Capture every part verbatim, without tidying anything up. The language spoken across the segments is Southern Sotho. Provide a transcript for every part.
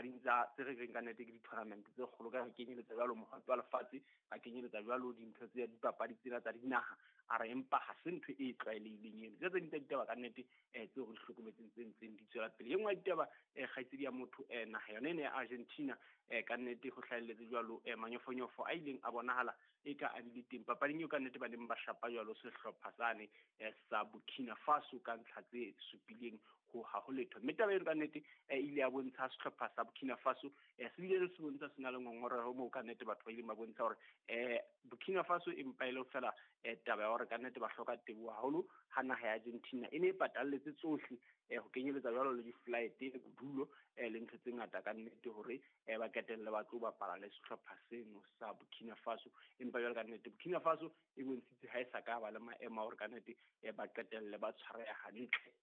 dipapading tsa tse re reng ka nnete ke di-tournament tse kgolo ka kenyeletsa jwalo mohato wa lefatshe, ba kenyeletsa jwalo dintho tse dipapadi tsena tsa dinaha. A re empa ha se ntho e tlwaelehileng eno. Tse ding tsa ditaba ka nnete um tseo re di hlokometseng tse ntseng di tswela pele. E nngwe ya ditaba um kgaitsedi ya motho um naha yona ena ya Argentina um ka nnete ho hlahelletse jwalo um manyofonyofo a ileng a bonahala e ka a bile teng papading eo ka nnete ba neng ba shapa jwalo sehlopha sane um sa Burkina Faso ka ntlha tse supileng ho ha ho letho. Mme taba eno ka nnete e ile ya bontsha sehlopha sa Burkina Faso um se bile se bontsha se na le ngongoreho moo ka nnete batho ba ileng ba bontsha hore um Burkina Faso empa e le fela um taba ya hore ka nnete ba hloka teboho haholo ha naha ya Argentina e ne e patalletse tsohle um ho kenyeletsa jwalo le di-flight le bodulo um le ntho tse ngata ka nnete hore um ba qetelle ba tlo bapala le sehlopha seno sa Burkina Faso. Empa jwale ka nnete Burkina Faso e bontshitse ha e sa ka ba le maemo a hore ka nnete um ba qetelle ba tshwareha hantle.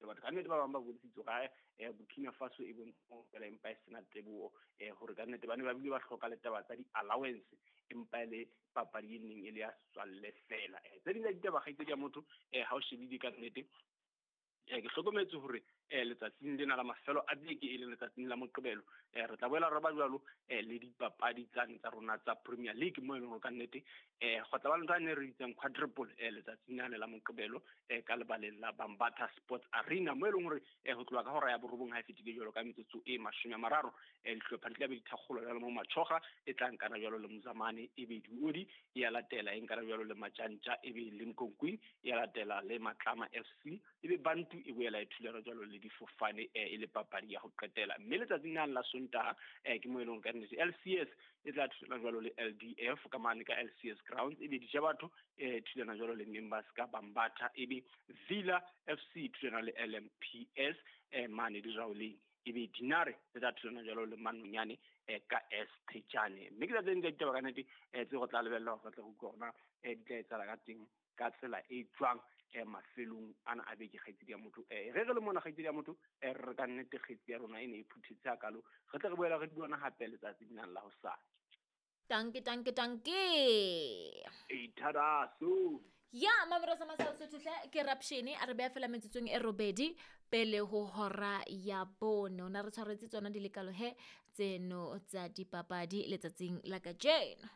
Batho ka nnete ba bang ba bontshitse hore Burkina Faso e bontsha fela empa e sena teboho um hore ka nnete ba ne ba bile ba hloka le taba tsa di-allowance empa e le papadi e neng e le ya setswalle fela. Tse ding tsa ditaba kgaitsedi ya motho um ha o shebile ka nnete um ke hlokometse hore um letsatsing lena la mafelo a beke e leng letsatsing la Moqebelo um re tla boela re ba jwalo um le dipapadi tsane tsa rona tsa Premier League mo e leng hore ka nnete um go tla ba le ntho e ne re bitsang quadruple um letsatsing lane la Moqebelo um ka lebaleng la Bambatha Sports Arena mo e leng hore um ho tloha ka hora ya borobong ha e fetile jwalo ka metsotso e mashome a mararo um dihlopha di tla be di thakgolwa jwalo mo Machoga e tla nkana jwalo le Mozamane, e be Diodi e ya latela e nkana jwalo le Majantja, e be Limkokwing e ya latela le Matlama F C, e be Bantu e boela e thulana jwalo le difofane e le papadi ya ho qetela. Mme letsatsing lane la Sontaha um ke mo e leng ka nnete L C S e tla thulana jwalo le L D F ka mane ka L C S Grounds, e be Dijabatho e thulana jwalo le Members ka Bambatha, e be Villa F C thulana le L M P S um mane Diraoleng, e be Dinare e tla thulana jwalo le Manonyane um ka S Thejane. Mme ke tsa tse ding tsa ditaba ka nnete um tse go tla lebella hore re tle re utlwe hore na um di tla etsahala ka teng ka tsela e jwang um mafelong ana a beke kgaitsedi ya motho. Um re re le mona kgaitsedi ya motho um re ka nnete kgaitsedi ya rona e ne e phuthetse hakalo, re tle re boela re di bona hape letsatsing lena la hosane. Danke, danke, danke. Itharaso. Ya mamoro sa masal sotho ke rapshene a re beya fela metsotsong e robedi pele ho hora ya bone. O na re tshwaretse tsona dilekalo he tseno tsa dipapadi letsatsing la kajeno.